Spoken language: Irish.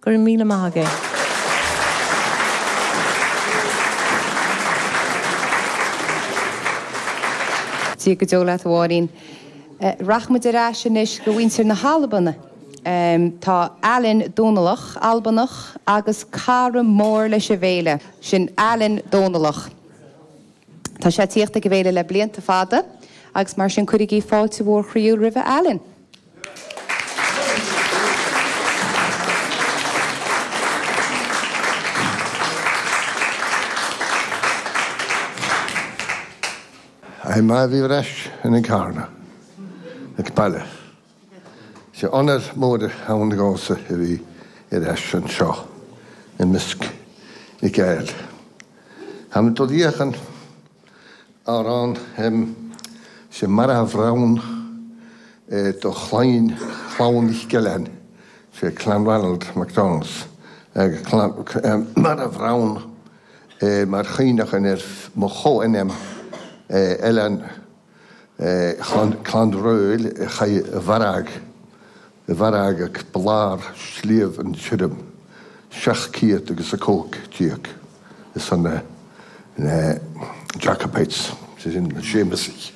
Go raibh míle maith agaibh. Dia go deo leat a Mháirín. Rachaidh muid ar ais anois go mhuintir na hAlban. Tá Alan Dónallach, Albanach agus cara mór leis an bhféile. Sin Alan Dónallach. Tá sé ag tíocht ag an bhféile le blianta fada agus mar sin cuirigí fáilte mhór chroíúil roimhe Alan. Aye maith a bhí ar ais in Carna ag baile. Sé onóir mór ann dhomsa a bhí ar ais anseo i measc na Gael. Táim dul fhéachaint amhrán sé marbh-rann do chlainn Chlann Mhic Gill-Eain, sé Clanranald MacDonalds, marbh-rann mar chuimhneachán ar mo chomhainm Eilean Clann Roill a chaith i bhfarraige, i bhfarraige ag blár Sliabh an Tirim, 700 agus a 15 ar son na Jacobites, sé sin na Séamasaigh.